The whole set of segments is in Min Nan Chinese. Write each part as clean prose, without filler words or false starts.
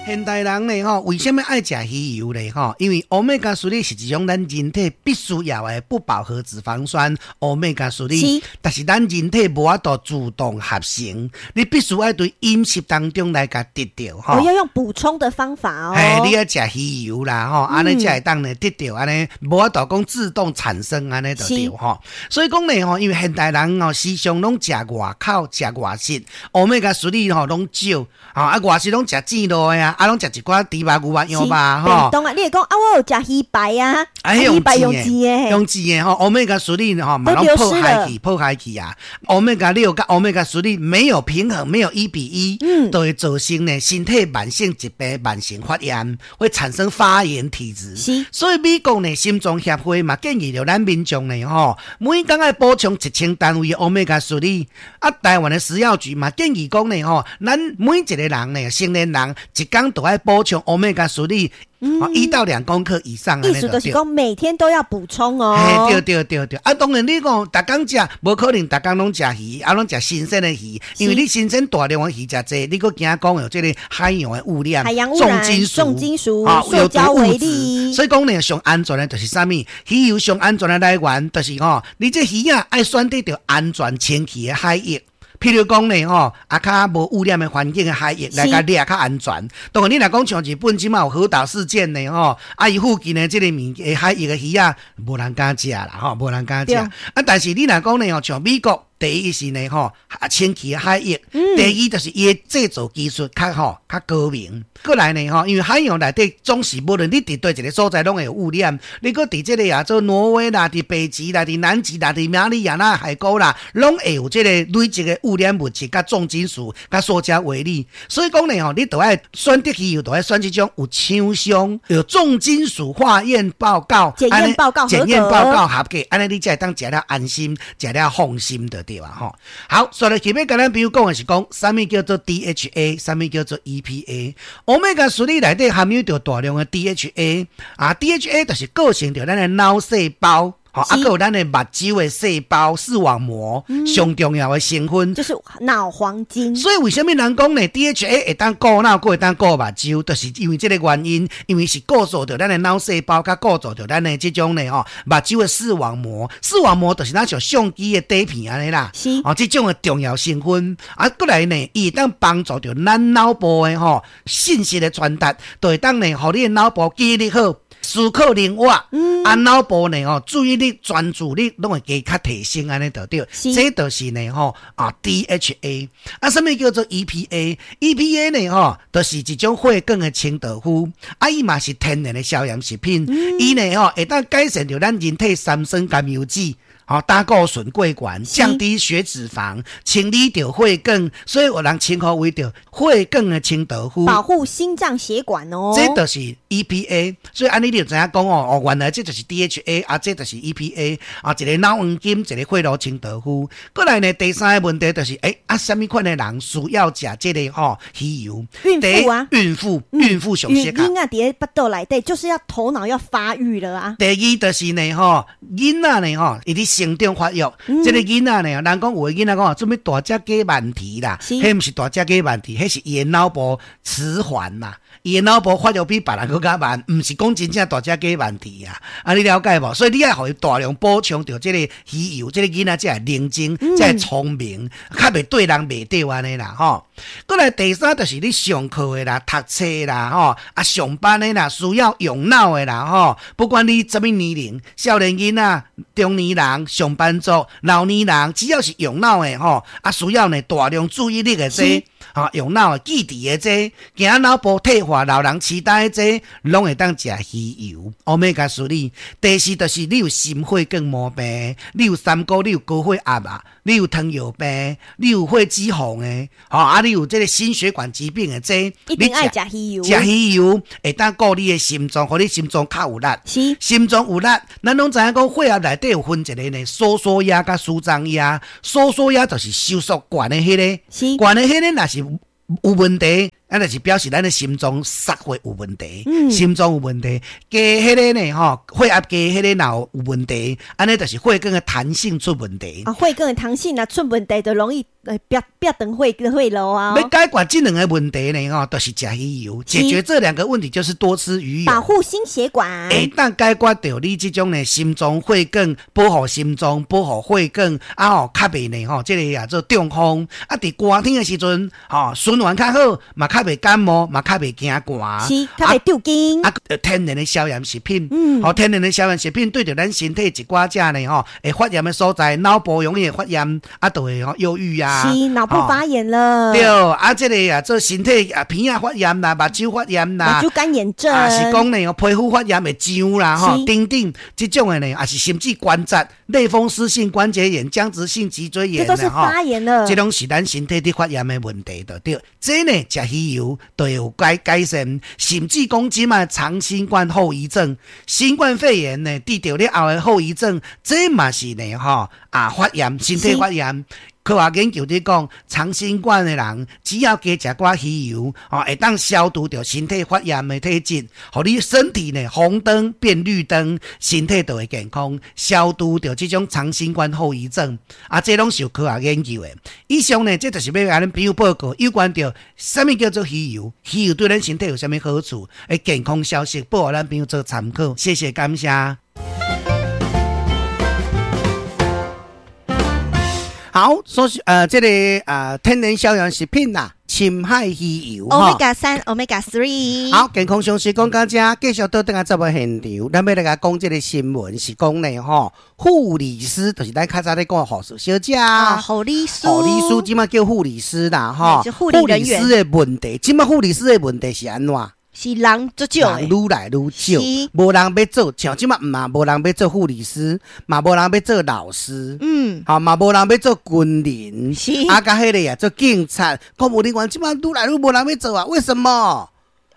現代人呢，吼，為啥物愛食魚油呢？吼，因為歐米伽三是一種咱人體必須要的不飽和脂肪酸，歐米伽三。但是咱人體無法度自動合成，你必須愛對飲食當中來共得著吼。哦，要用補充的方法哦。嘿，你愛食魚油啦，吼，按呢才會當呢得著按呢，無法度講自動產生按呢就對吼。所以講呢，吼，因為現代人吼時常攏食外口、食外食，歐米伽三吼攏少，吼啊外食攏食煎滷的啊，啊攏食一寡豬肉、牛肉、羊肉吼。當啊，你會講啊，我有食魚排啊，啊魚排用煎的，用煎的吼，歐米伽三吼嘛攏破壞去，破壞去啊。歐米伽六佮歐米伽三沒有平衡，沒有1比1，都會造成呢身體慢性疾病、慢性發炎，會產生發炎體質。所以美國呢心臟協會嘛建議著咱民眾呢吼，每工愛補充1000單位的歐米伽三。啊，台灣的食藥局嘛建議講呢吼，咱每一個人呢，成年人一工都愛補充歐米伽三，1到2公克以上。意思就是講每天都要補充哦。嘿，對對對對。啊，當然你講逐工食，無可能逐工攏食魚，啊，攏食新鮮的魚，因為你新鮮大量的魚食濟，你閣驚講有這個海洋的污染、海洋污染、重金屬、重金屬、塑膠微粒。所以講呢，上安全的就是啥物？魚油上安全的來源就是吼，你這魚仔愛選擇著安全清氣的海域。譬如講呢，吼，啊，較無污染的環境的海域來共掠較安全。當然，你若講像日本這馬有核島事件呢，吼，啊，伊附近的這個物的海域的魚仔，無人敢食啦，吼，無人敢食。啊，但是你若講呢，吼，像美國，第一是呢，吼，清氣的海域；第二就是伊的製造技術較吼較高明。過來呢，吼，因為海洋內底總是無論你佇佗一個所在，攏會有污染。你閣佇這個亞洲挪威啦，佇北極啦，佇南極啦，佇馬里亞納海溝啦，攏會有這個累積的污染物質、佮重金屬、佮塑膠微粒。所以講呢，吼，你著愛選擇魚油，著愛選這種有廠商有重金屬化驗報告、檢驗報告、檢驗報告合格，按呢你才會當食了安心，食了放心的對吧？吼，好，所以今欲共咱朋友講的是講，啥物叫做 DHA，啥物叫做 EPA。歐米伽三內底含有著大量的 DHA，啊，DHA 就是構成著咱的腦細胞，吼，啊，閣有咱的目睭的細胞視網膜上重要的成分，就是腦黃金。所以為啥物人講呢？DHA 會當顧腦，閣會當顧目睭，就是因為這個原因，因為是構造著咱的腦細胞，佮構造著咱的這種呢吼目睭的視網膜，視網膜就是若像相機的底片按呢啦。哦，這種的重要成分，啊，過來呢，伊會當幫助著咱腦部的吼信息的傳達，就會當呢，予你的腦部記憶力好，思考靈活，啊，腦部呢吼注意力、專注力攏會加較提升按呢就對。這就是呢吼啊 DHA，啊，啥物叫做 EPA？EPA 呢吼，就是一種血管的清道夫，啊，伊嘛是天然的消炎食品，伊呢吼會當改善著咱人體三酸甘油酯，吼，膽固醇過懸，降低血脂肪，清理著血管，所以有人稱呼為著血管的清道夫，保護心臟血管哦。這就是 EPA，所以按呢你就知影講哦，哦，原來這就是 DHA，啊，這就是 EPA，啊，一個腦黃金，一個血路清道夫。過來呢，第三個問題就是，欸，啊，啥物款的人需要食這個吼魚油？孕婦啊，孕婦，孕婦上適合。嬰仔佇腹肚內底，就是要頭腦要發育了啊。第二就是呢，吼，囡仔呢，吼，伊佇成長發育，這個囡仔呢，人講有的囡仔講啊，做咩大隻雞慢啼啦？彼毋是大隻雞慢啼，彼是伊的腦部遲緩啦。伊的腦部發育比別人閣較慢，毋是講真正大隻雞慢啼啊！啊，你了解無？所以你愛予伊大量補充著這個魚油，這個囡仔才會靈精，才會聰明，較袂對人袂對按呢啦吼。過來第三就是你上課的啦、讀冊啦、吼啊上班的啦，需要用腦的啦吼。不管你啥物年齡，少年囡仔、中年人、上班族、老年人，只要是用腦的吼，啊需要呢大量注意力的這吼用腦的記憶的這，驚腦部退化、老人痴呆的這，攏會當食魚油、歐米伽三。第四就是你有心血管毛病，你有三高，你有高血壓啊，你有糖尿病，你有血脂肪的，吼啊，你有這個心血管疾病的這，一定愛食魚油。食魚油會當顧你的心臟，予你心臟較有力。心臟有力，咱攏知影講血壓內底有分一個呢，收縮壓佮舒張壓。收縮壓就是收縮懸的彼個，懸的彼個若是有問題。啊，就是表示咱的心臟塞血有問題，心臟有問題，加彼個呢吼，血壓低，彼個若有問題，按呢就是血管的彈性出問題。啊，血管的彈性若出問題，就容易會煏煏斷血血路啊。欲解決這兩個問題呢，吼，就是食魚油。解決這兩個問題就是多吃魚油，保護心血管。會當解決著你這種呢心臟血管，保護心臟，保護血管，啊吼，較袂呢吼，這个啊做中風。啊，佇寒天的時陣，吼循環較好，嘛較袂感冒，嘛較袂驚寒。是，較袂抽筋。啊，天然的消炎食品，吼，天然的消炎食品對著咱身體一寡遮呢吼，會發炎的所在，腦部容易會發炎，啊，就會吼憂鬱啊。是，腦部發炎了。對，啊，這個啊做身體啊鼻仔發炎啦，目睭發炎啦，目睭乾眼症，啊是講呢，皮膚發炎會癢啦，吼，等等，這種的呢，也是甚至關節類風濕性關節炎、僵直性脊椎炎，這都是發炎了。這攏是咱身體佇發炎的問題，就對。這呢，食魚油就會有改改善，甚至講這擺長新冠後遺症、新冠肺炎呢，得著了後的後遺症，這嘛是呢，吼啊發炎，身體發炎。科學研究佇講，長新冠的人只要加食寡魚油，吼，會當消除著身體發炎的體質，予你身體呢紅燈變綠燈，身體就會健康，消除著這種長新冠後遺症。啊，這攏是有科學研究的。以上呢，這就是欲共恁朋友報告有關著啥物叫做魚油，魚油對咱身體有啥物好處的健康消息，報予咱朋友做參考。謝謝，感謝。好，所以這個天然消炎食品啦，深海魚油，Omega 3，Omega 3。好，健康常識講到這，繼續倒轉來節目現場，咱欲來共講這個新聞是講呢吼，護理師就是咱較早咧講的護士小姐啊，護理師，護理師這擺叫護理師啦，吼，護理人員護理師的問題，這擺護理師的問題是按怎？是人足少，人愈來愈少，無人欲做，像這擺嘛無人欲做護理師，嘛無人欲做老師，吼嘛無人欲做軍人，是啊，佮彼个啊做警察、公務人員，這擺愈來愈無人欲做啊？為什麼？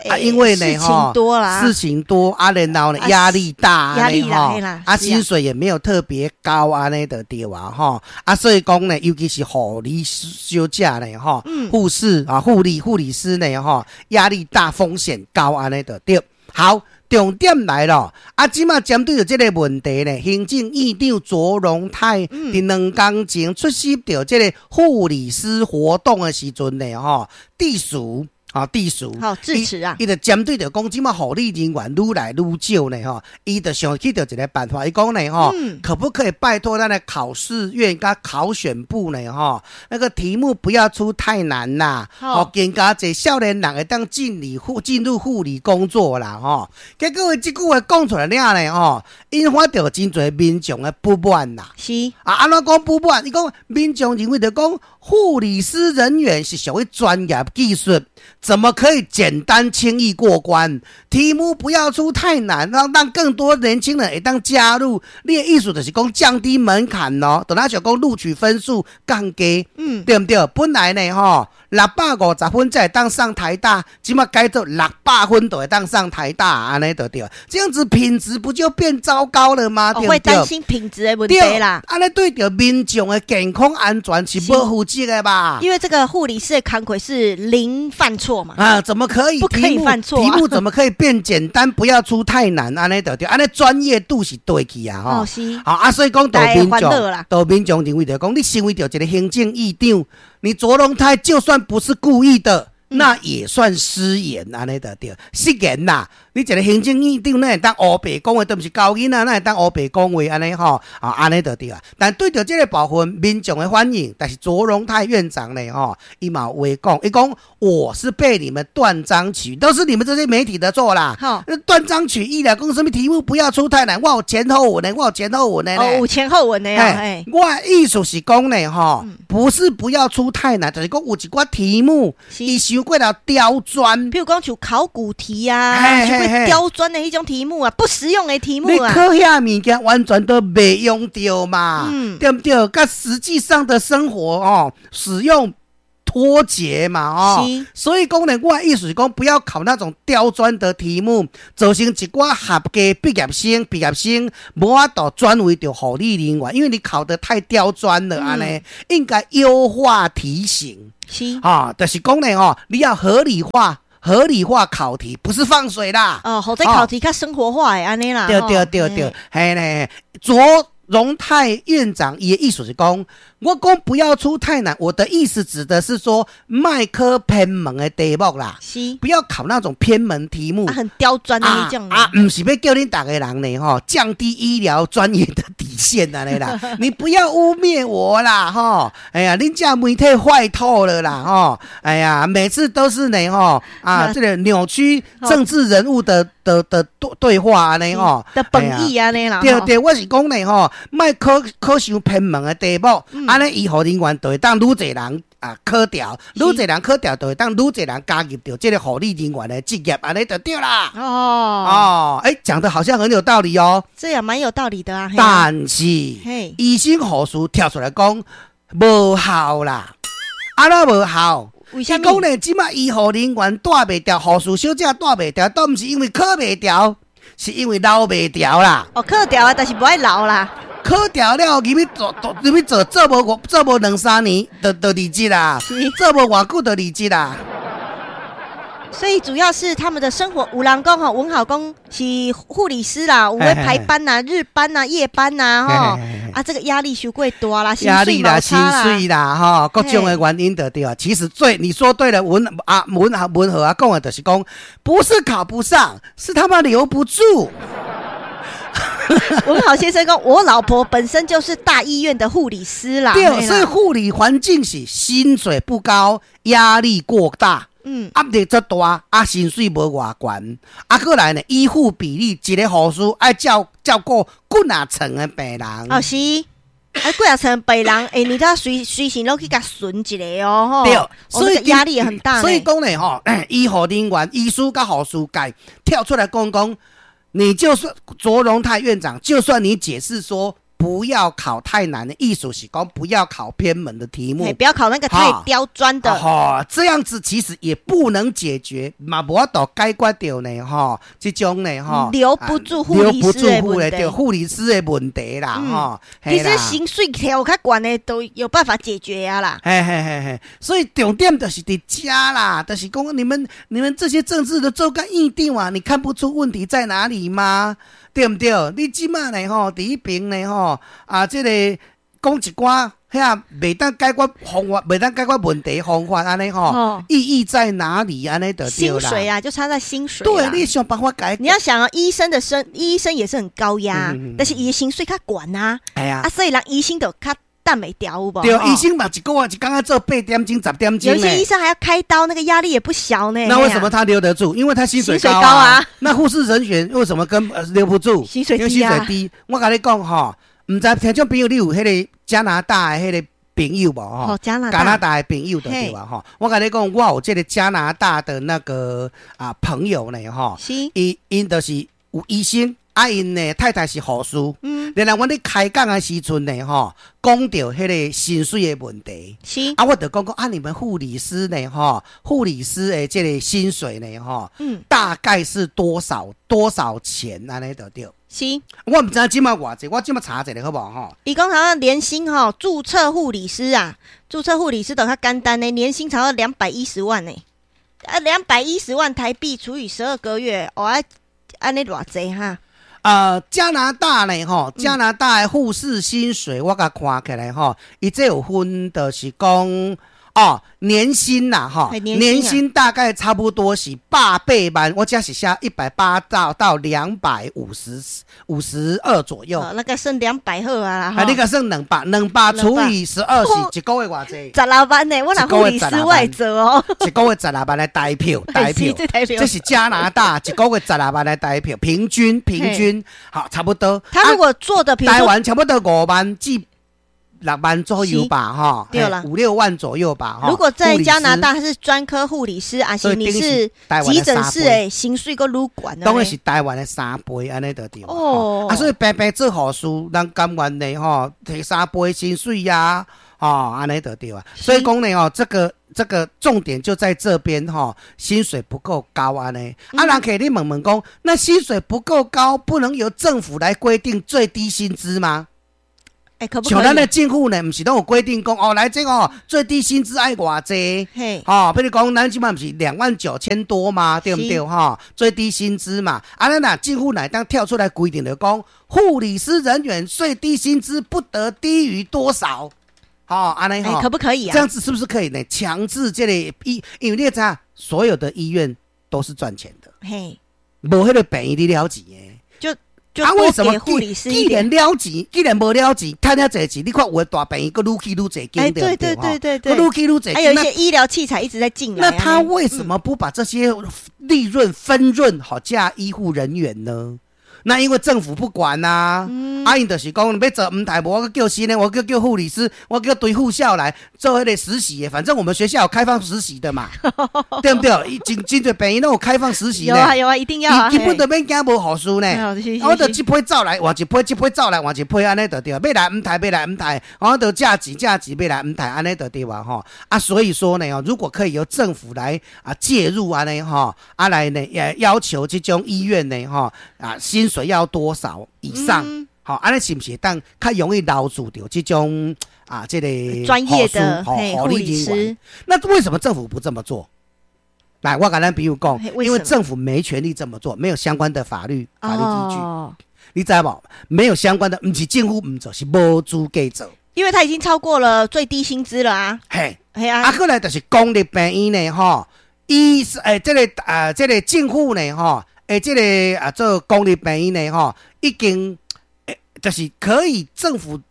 啊，因為呢，事情多啦，事情多啊，然後呢，壓力大，壓力大，啊，薪水也沒有特別高，按呢就對啊，吼，啊，所以講呢，尤其是護理小姐呢，吼，護士啊，護理護理師呢，吼，壓力大，風險高，按呢就對。好，重點來了，啊，這擺針對著這個問題呢，行政院長卓榮泰佇兩工前出席著這個護理師活動的時陣呢，吼，致辭。啊，致辭，好致辭啊！伊就針對著講，這擺護理人員愈來愈少呢，吼，伊就想起著一個辦法，伊講呢，吼，可不可以拜託咱的考試院佮考選部呢，吼，那個題目不要出太難啦，吼，更加濟少年人會當進入護理工作啦，吼。結果伊這句話講出來了呢，吼，引發著真濟民眾的不滿啦。是啊，按怎講不滿？伊講民眾認為著講護理師人員是屬於專業技術。怎麼可以簡單輕易過關？題目不要出太難，讓更多年輕人會當加入。你的意思就是講降低門檻咯，就若像講錄取分數降低，對毋對？本來呢，吼，650分才會當上台大，這擺改做600分就會當上台大，按呢就對。這樣子品質不就變糟糕了嗎？對不對？會擔心品質的問題啦。按呢對著民眾的健康安全是無負責的吧？因為這個護理師的工課是零犯錯嘛。啊，怎麼可以？不可以犯錯？題目怎麼可以變簡單？不要出太難，按呢就對，按呢專業度是對去啊！吼，是。好啊，所以講，民眾，都民眾認為就講，你身為著一個行政院長，你卓榮泰就算不是故意的，那也算失言，按呢就對，失言啦。你一個行政院長，哪會當烏白講話，都毋是教囡仔，哪會當烏白講話按呢吼？啊，按呢就對啊。但對著這個部分民眾的反應，但是卓榮泰院長呢，吼，伊嘛有話講，伊講我是被你們斷章取，都是你們這些媒體的錯啦。斷章取義啦，講什麼題目不要出太難，我有前後文的，我有前後文的。哦，有前後文的啊。我的意思是講呢，吼，不是不要出太難，就是講有一寡題目，伊傷過頭刁鑽，譬如講像考古題啊。刁鑽的彼種題目啊，不實用的題目啊，你考遐物件完全都袂用著嘛，對毋對？佮實際上的生活哦，使用。脫節嘛，哦。所以講呢，我的意思是講，不要考那種刁鑽的題目，造成一寡合格畢業生、畢業生無法度轉為著護理人員，因為你考得太刁鑽了，按呢應該優化題型。哈，就是講呢，吼，你要合理化。合理化考題，不是放水啦。哦，予這考題較生活化的按呢啦。對對對對，嘿咧，卓榮泰院長伊的意思是講，我講不要出太難，我的意思指的是說，莫考偏門的題目啦，不要考那種偏門題目，啊，很刁鑽的那種。啊，毋是欲叫恁逐个人呢，吼，降低醫療專業的底線按呢啦，你不要污衊我啦，吼，哎呀，恁遮媒體壞透了啦，吼，哎呀，每次都是呢，吼，啊，這個扭曲政治人物的對對話按呢，吼，的本意按呢啦。對對，我是講呢，吼，莫考考傷偏門的題目，按呢醫護人員就會當愈濟人啊考著，愈濟人考著，就會當愈濟人加入著這個護理人員的職業，按呢就對啦。哦，欸，講得好像很有道理哦。這也蠻有道理的啊。但是，醫生護士跳出來講無效啦，按怎無效？伊講呢，這馬醫護人員帶袂牢，護士小姐帶袂牢，都毋是因為考袂牢，是因為留袂牢啦。哦，考牢啊，但是無愛留啦。考牢了，入去做，入去做，做無兩三年，就離職啦。做無偌久就離職啦。所以主要是他們的生活，有人講吼，文豪講是護理師啦，有咧排班呐、日班呐、夜班呐，吼，啊，這個壓力傷過大啦，壓力啦，薪水啦，吼，各種的原因就對啊。其實最你說對了，文豪啊講的就是講，不是考不上，是他媽留不住。文豪先生講，我老婆本身就是大醫院的護理師啦。對，所以護理環境是薪水不高，壓力過大。壓力足大，啊，薪水無偌懸，啊，閣來呢，醫護比例一個護士愛照顧幾若床的病人。哦，是，啊，幾若床病人，欸，你都要隨時攏去共巡一下哦，吼。對，所以壓力也很大。所以講呢，吼，醫護人員、醫師佮護士界跳出來講講，你就算卓榮泰院長，就算你解釋說，不要考太難的意思是講不要考偏門的題目，不要考那個太刁鑽的。哈，這樣子其實也不能解決，嘛無法度解決著呢，吼，這種呢，吼，留不住護理師的問題，護理師的問題啦，吼。其實薪水調較懸的都有辦法解決啊啦。嘿嘿嘿嘿，所以重點就是佇遮啦，就是講你們這些政治的做甲院長啊，你看不出問題在哪裡嗎？對毋對？你這馬呢吼，佇彼爿呢吼，啊，這個講一寡遐袂當解決方法，袂當解決問題方法按呢吼，意義在哪裡？按呢就對啦。薪水啊，就差在薪水。對，你想辦法解。你要想啊，醫生的生，醫生也是很高壓，但是伊的薪水較懸啊。哎呀，啊，所以人醫生就較等袂牢有無？對，醫生嘛，一個月一工愛做8點鐘、10點鐘。有些醫生還要開刀，那個壓力也不小呢。那為什麼他留得住？因為他薪水高啊。那護士人員為什麼跟留不住？薪水低啊。因為薪水低。我共你講吼，毋知聽眾朋友你有彼個加拿大的彼個朋友無？吼，加拿加拿大的朋友就對啊，吼。我共你講，我有這個加拿大的那個啊朋友呢，吼，伊𪜶就是有醫生。啊，𪜶呢太太是護士，然後阮咧開講的時陣呢，吼，講著彼個薪水的問題，啊，我就講講啊，你們護理師呢，吼，護理師的這個薪水呢，吼，大概是多少多少錢按呢就對。是，我毋知這馬偌濟，我這馬查一下好無吼？伊講好像年薪吼，註冊護理師啊，註冊護理師都較簡單呢，年薪超過210萬呢，啊，210萬台幣除以12個月，哦，啊，按呢偌濟哈？加拿大呢，吼，加拿大的護士薪水，我共看起來吼，伊這有分，就是講哦，年薪啦，吼，年薪大概差不多是180萬，我這是寫180到252左右。哦，那個算200好啊啦。啊，你個算兩百，200除以12是一個月偌濟？十六萬呢，我若護理師我會做哦。一個月十六萬的台票，台票，這是加拿大一個月十六萬的台票，平均平均好差不多。他如果做的，台灣差不多5萬至6萬左右吧，哈，對啦，五六萬左右吧。如果在加拿大，他是專科護理師，還是你是急診室的，薪水閣愈懸。當然是台灣的3倍，按呢就對。哦，啊，所以平平做護士，人甘願的吼，提三倍薪水呀，吼，按呢就對啊。所以講呢，吼，這個。這個重點就在這邊吼，薪水不夠高按呢。啊，人客你問問講，那薪水不夠高，不能由政府來規定最低薪資嗎？欸，可不可像咱的以？政府呢，毋是攏有規定講哦，來這個哦，最低薪資愛偌濟。吼，比如講，咱這擺毋是29,000多嗎？對毋對？吼，最低薪資嘛。啊，咱若政府若會當跳出來規定就講，護理師人員最低薪資不得低於多少？吼，按呢吼，可不可以啊？這樣子是不是可以呢？強制這個醫，因為你知影，所有的醫院都是賺錢的，無彼個病院咧了錢的。就啊，為什麼多給護理師既一點然了錢，既然無了錢，趁遐濟錢，你看有的大病院閣愈起愈濟間，對不對？閣愈起愈濟，還有一些醫療器材一直在進來。那他為什麼不把這些利潤分潤予遮醫護人員呢？那因為政府不管呐，啊，𪜶就是講欲做毋刣，無我叫新的，我叫叫護理師，我叫對護校來做彼個實習的，反正我們學校有開放實習的嘛，對不對？真真濟病院攏有開放實習有啊有啊，一定要啊。根本就免驚無護士呢，我就這批走來換一批，這批走來換一批，按呢就對。欲來毋刣，欲來毋刣，我就借錢借錢，欲來毋刣，按呢就對啊吼。啊，所以說呢，如果可以由政府來啊介入按呢吼，啊來呢也要求這種醫院呢吼啊薪水要多少以上？吼，按呢是毋是會當較容易留住著這種啊？這個專業的護理人員。那為什麼政府不這麼做？來，我共咱朋友講，因為政府沒權利這麼做，沒有相關的法律依據。你知無？沒有相關的，毋是政府毋做，是無資格做。因為他已經超過了最低薪資了啊！嘿，係啊。啊，過來就是公立病院呢，吼，醫欸，這個啊，這個政府呢，吼。欸，這個啊，做公立病院呢，吼，已經欸，就是可以政府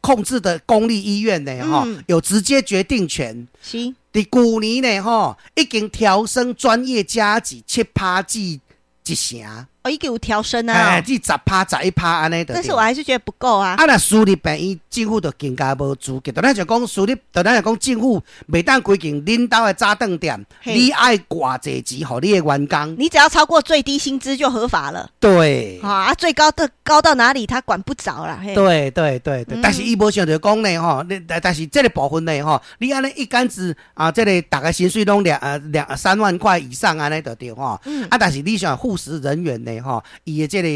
控制的公立醫院呢，吼，有直接決定權。佇舊年呢，吼，已經調升專業加給7趴至1成。哦，已經有調升啊！哎，至10趴、11趴按呢。但是我還是覺得不夠啊。啊，若私立病院政府就更加無資格。就咱就講私立，就咱就講政府袂當規定恁兜的早頓店，你愛偌濟錢予你的員工。你只要超過最低薪資就合法了。對。啊，最高的高到哪裡他管不着啦。對對對對，但是伊無想著講呢吼，你但是這個部分呢吼，你按呢一竿子啊，這個逐个薪水攏兩兩三萬塊以上按呢就對吼。啊，但是你想護士人員呢吼，伊的這個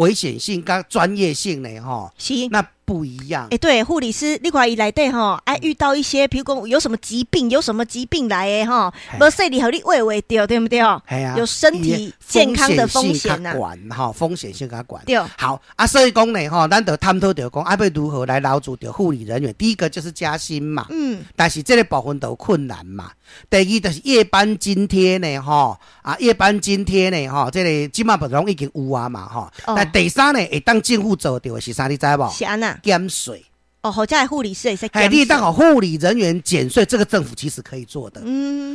危險性佮專業性呢吼，那不一樣。欸，對，護理師，你看伊內底吼，愛遇到一些，譬如講有什麼疾病，有什麼疾病來的吼，無細膩予你畫袂著，對毋對？係啊，有身體健康的風險較懸吼，風險性較懸。對。好啊，所以講呢吼，咱就探討著講，啊，欲如何來留住著護理人員？第一個就是加薪嘛，但是這個部分都有困難嘛。第二就是夜班津貼呢，吼啊，夜班津貼呢，吼，這個這馬不攏已經有啊嘛，吼。但第三呢，會當政府做著的是啥？你知無？是按怎？減稅。哦，予遮護理師會使減。你當予護理人員減稅，這個政府其實可以做的。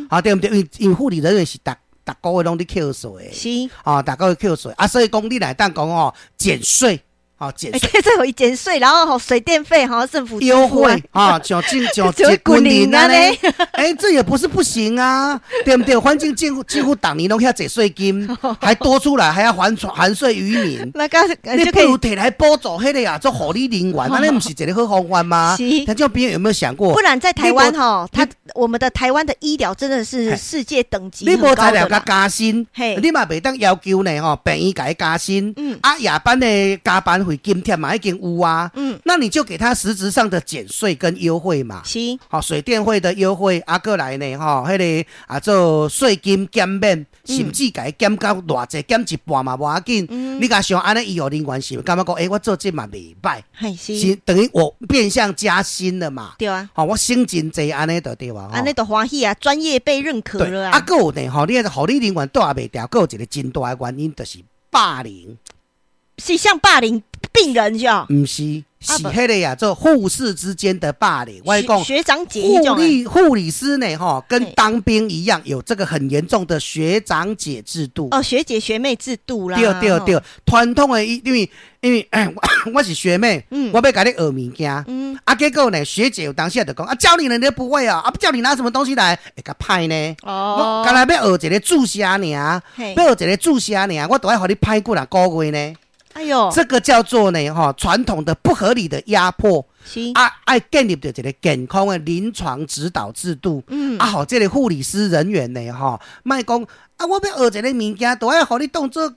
好，對毋對？因為護理人員是逐逐個月攏佇扣稅。啊，逐個月扣稅啊，所以講你若會當講哦，減稅。好，減稅，這予伊減稅，然後水電費哈，政府優惠啊，像進像這軍人按呢，欸，這也不是不行啊，對毋對？反正政府逐年攏遐濟稅金，還多出來，還要還稅於民。那個你不如提來補助彼個啊，做護理人員，按呢毋是一個好方法嗎？是。聽眾朋友有沒有想過？不然在台灣哈，他我們的台灣的醫療真的是世界等級。你無材料共加薪，你嘛袂當要求呢吼，病院共伊加薪，啊夜班的加班費津貼嘛已經有啊，那你就給他實質上的減稅跟優惠嘛，好，水電費的優惠，啊，過來呢，吼，彼個啊做稅金減免，甚至共伊減到偌濟，減一半嘛無要緊。你共想按呢醫護人員是感覺講，欸，我做這嘛袂䆀，是等於我變相加薪了嘛？對啊，吼，我省真濟按呢就對啊，按呢就歡喜啊，專業被認可了啊。啊，閣有呢，吼，你護理人員蹛袂牢，閣有一個真大的原因就是霸凌。是像霸凌病人是毋是，是彼個呀，做護士之間的霸凌。我講學長姐護理師呢，吼，跟當兵一樣，有這個很嚴重的學長姐制度。哦，學姐學妹制度啦。對對對，傳統的，因為我是學妹，我欲共你學物件，啊，結果呢，學姐有當時就講啊，教你了你都不會啊，啊，不教你拿什麼東西來，會較歹呢。我干焦欲學一個注射爾，欲學一個注射爾，我都愛予你歹幾若個月呢。哎喲，這個叫做呢，哈，傳統的不合理的壓迫。啊，愛建立著一个健康的臨床指導制度。啊，予這个護理師人員呢，吼，莫講啊，我欲學一个物件，都愛予你當做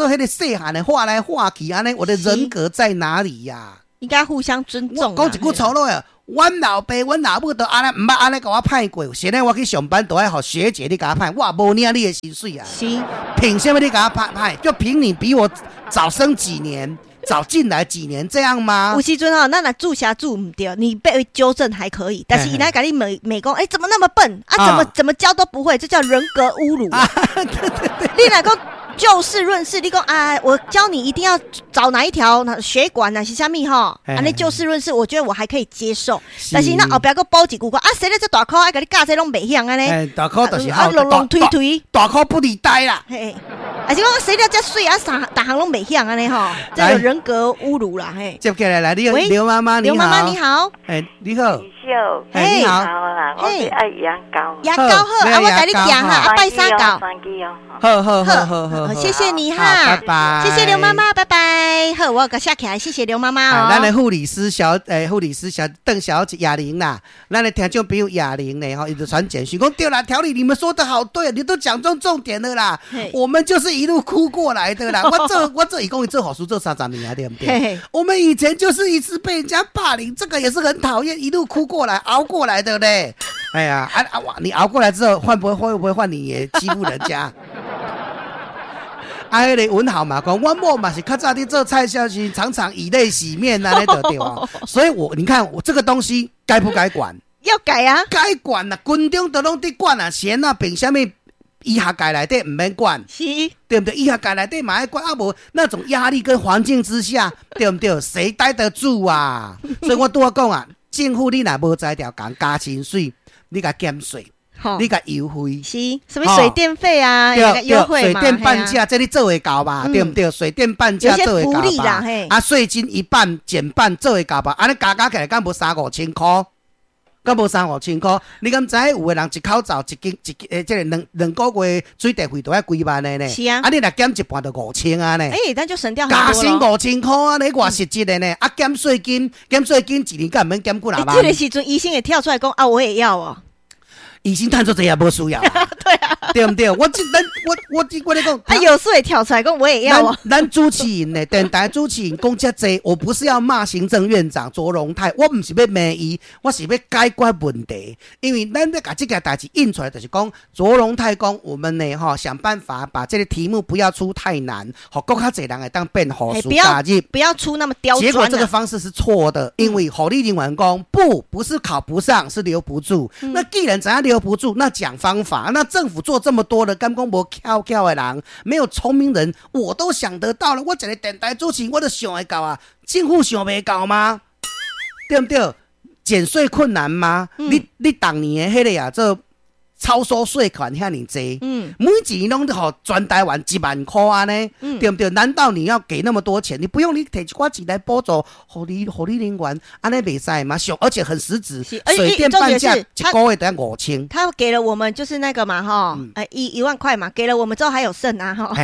彼个細漢的畫來畫去，按呢，我的人格在哪裡呀？應該互相尊重。講一句粗魯的，阮老爸、阮老母都按呢，毋捌按呢共我歹過。現在我去上班，都愛予學姐你共我歹，我無領你的薪水啊。憑啥物你共我歹歹？就憑你比我早生幾年，早進來幾年這樣嗎？有時陣吼，咱若注射注毋對，你被糾正還可以，但是伊來共你罵罵講，欸，怎麼那麼笨啊？怎麼教都不會，這叫人格侮辱。你若講就事論事，你講啊，我教你一定要找哪一條血管啊，是啥物吼？按呢就事論事，我覺得我還可以接受。但是那後壁閣補一句講啊，生咧這大箍，愛共你教這攏袂曉按呢？大箍就是啊，攏攏推推，大箍不離呆啦。嘿，還是講生了遮媠啊，啥逐項攏袂曉按呢吼？這個人格侮辱啦，嘿。接起來來，你劉媽媽你好。劉媽媽你好。哎，你好。嘿，你好。我是愛牙膏。牙膏好，啊，我共你寄哈，啊，拜三到。好好好好好，謝謝你哈，拜拜。謝謝劉媽媽，拜拜。好，我共寫起來，謝謝劉媽媽哦。咱的護理師小，欸，護理師小鄧小姐雅玲啦，咱的聽眾朋友雅玲呢，吼，伊就傳簡訊講對啦，調理你們說得好對，你都講中重點了啦。我們就是一路哭過來的啦。我這伊講伊做護士做30年啊，對不對？我們以前就是一直被人家霸凌，這個也是很討厭，一路哭過來，熬過來的嘞。哎呀，啊啊哇！你熬過來之後，換不會會不會換你也欺負人家？啊，彼個文豪嘛，講阮某嘛是較早佇做菜銷時，常常以淚洗面啊，呢就對啊。所以我你看我這個東西該不該管？要改啊！該管啦，軍中都攏佇管啊，閒啊，憑啥物醫學界內底毋免管？對不對？醫學界內底嘛愛管啊，無那種壓力跟環境之下，對不對？誰待得住啊？所以我拄仔講啊，政府你若無才調，共加薪水，你共減稅。你共優惠是什麼水電費啊？優惠水電半價，這你做會到吧？對毋對？水電半價做會到吧？啊，稅金一半減半做會到吧？按呢加加起來，敢無三五千箍？敢無三五千箍？你敢知影有的人一口罩一間一欸，這个兩個月水電費都愛幾萬的呢？是啊。啊，你若減一半就5000啊呢？欸，那就省掉加薪5000箍啊！你偌實質的呢？啊，減稅金，減稅金一年敢毋免減幾若萬？這個時陣醫生會跳出來講啊，我也要哦。醫生趁足濟也無需要，對啊，對毋對？我這咱我我我咧講，啊，有事會跳出來講，我也要啊。咱主持人呢，電台主持人講遮濟，我不是要罵行政院長卓榮泰，我毋是欲罵伊，我是欲解決問題。因為咱欲共這件代誌印出來，就是講卓榮泰講，我們呢吼想辦法把這個題目不要出太難，予閣較濟人會當變護士加入，不要出那麼刁鑽。結果這個方式是錯的，因為護理人員講不，不是考不上，是留不住。那既然怎樣留不住，那講方法，那政府做這麼多的，敢講無巧巧的人，沒有聰明人，我都想得到了。我一個電台主持人，我都想會到啊，政府想袂到嗎？對毋對？減稅困難嗎？你逐年的彼個啊，做超收稅款遐爾濟，每一年攏予全台灣1萬箍按呢，對毋對？難道你要給那麼多錢？你不用你提一寡錢來補助護理人員，按呢袂使嗎？而且很實質，水電半價一個月得5000。他給了我們就是那個嘛，哈，1萬塊嘛，給了我們之後還有剩啊，哈，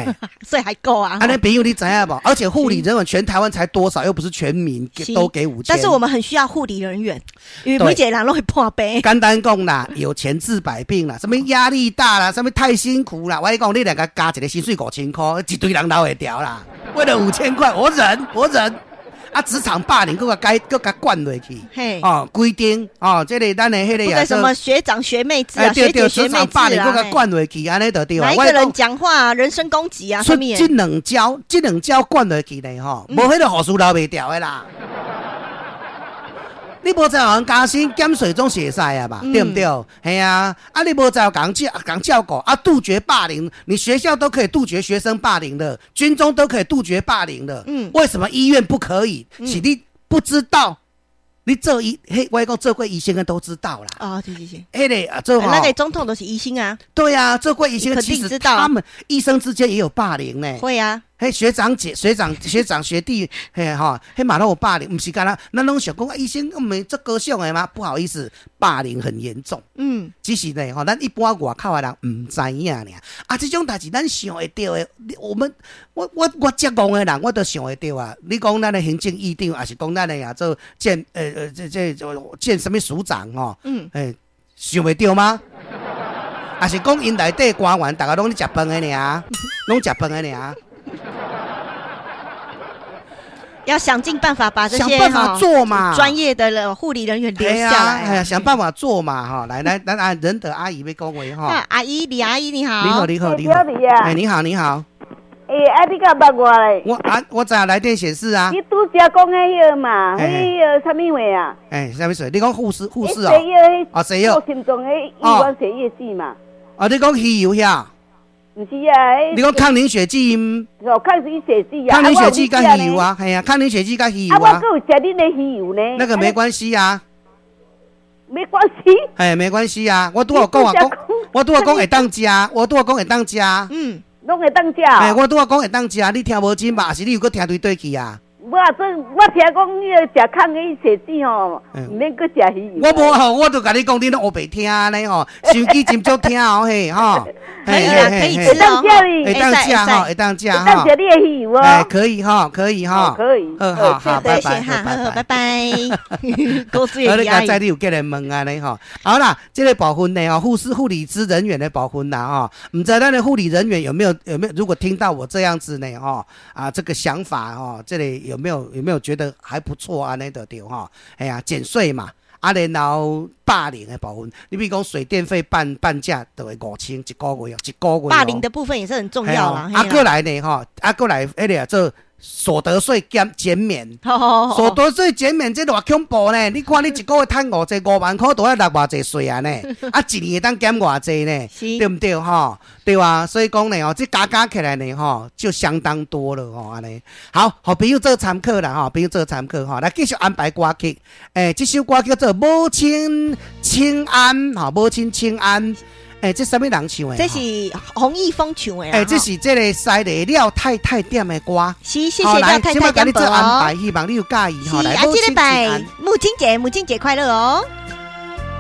所以還夠啊。按呢朋友你知影無？而且護理人員全台灣才多少，又不是全民都給5000。但是我們很需要護理人員，因為每一個人攏會破病。簡單講啦，有錢治百病啦，啥物壓力大啦，啥物太辛苦啦。我跟你講，你兩個加一個薪水5000箍，一堆人留會牢啦。為了5000塊，我忍，我忍。啊，職場霸凌，閣共改，閣共管落去。哦，規定哦，這個咱的彼個啊，什麼學長學妹制啊，學姐學妹制啊，霸凌閣共管落去，按呢就對。哪一個人講話人身攻擊啊？出這兩招，這兩招管落去呢，吼，無彼個護士留袂牢的啦。你無才予人加薪減稅總是會使啊吧？對毋對？係啊，啊你無才共人照顧啊，杜絕霸凌，你學校都可以杜絕學生霸凌的，軍中都可以杜絕霸凌的，為什麼醫院不可以？是你不知道，你做醫，彼，我講做過醫生的都知道啦。哦，是是是，彼個啊，做那個總統都是醫生啊。對啊，做過醫生，其實他們醫生之間也有霸凌呢。會啊。彼學長姐、學長、學長學弟，嘿吼，彼嘛攏有霸凌，毋是干焦，咱攏想講啊，醫生毋是足高尚的嗎？不好意思，霸凌很嚴重。只是呢，吼，咱一般外口的人毋知影爾。啊，這種代誌咱想會著的，我們我遮戇的人，我都想會著啊。你講咱的行政院長，抑是講咱的啊做健這健啥物署長吼？想袂著嗎？抑是講𪜶內底官員，逐家攏咧食飯的爾，攏食飯的爾。要想盡辦法把這些想辦法做嘛，專業的護理人員留下來。哎呀，想辦法做嘛，哈！來來來，啊，仁德阿姨欲講話哈。阿姨，李阿姨你好。你好，你好，你好。哎，你好，你好。欸，啊，你敢捌我咧？我啊，我知影來電顯示啊。你拄才講的彼個嘛，彼個啥物話啊？欸，啥物事？你講護士，護士哦。啊，西藥。心臟的醫院洗藥劑嘛。啊，你講魚油遐？毋是啊，你講抗凝血劑？哦，抗凝血劑啊。抗凝血劑佮魚油啊，係啊，抗凝血劑佮魚油啊。啊，我閣有食恁的魚油呢。那個沒關係啊。沒關係。哎，沒關係啊，我拄仔講啊講，我拄仔講會當食，我拄仔講會當食。嗯。攏會當食。哎，我拄仔講會當食，你聽無真吧？是你有閣聽對對去啊？我我聽講彼個食抗凝血劑吼，毋免閣食魚油。我無吼，我就共你講，你攏烏白聽呢吼，收機真足聽哦嘿吼。可以啊，可以吃哦。會當食吼，會當食吼。會當食你的魚油哦。哎，可以哈，可以哈。可以。好好，拜拜，拜拜拜。好，你剛才你有過來問按呢吼。好啦，這個部分呢吼，護士、護理師人員的部分啦吼，毋知咱的護理人員有沒有？如果聽到我這樣子呢吼，啊，這個想法吼，這裡有沒有覺得還不錯啊？按呢就對吼，哎呀，減稅嘛。啊，然後霸凌的部分，你比如講水電費半價，就會5000一個月哦，一個月。霸凌的部分也是很重要啦。啊，閣來呢吼，啊，閣來彼個做所得稅減免，所得稅減免這偌恐怖呢？你看你一個月趁偌濟5萬塊，都愛納偌濟稅啊呢？啊，一年會當減偌濟呢？對毋對吼？對啊，所以講呢，吼，這加加起來呢，吼，就相當多了吼，按呢。好，予朋友做參考啦，吼，朋友做參考吼，來繼續安排歌曲。欸，這首歌叫做《母親請安》，吼，母親請安。欸，這啥物人唱的？這是洪一峰唱的。欸，這是這個西麗廖太太點的歌。是，謝謝廖太太點播哦。安排，希望你有佮意吼。來，啊，這禮拜母親節，母親節快樂哦。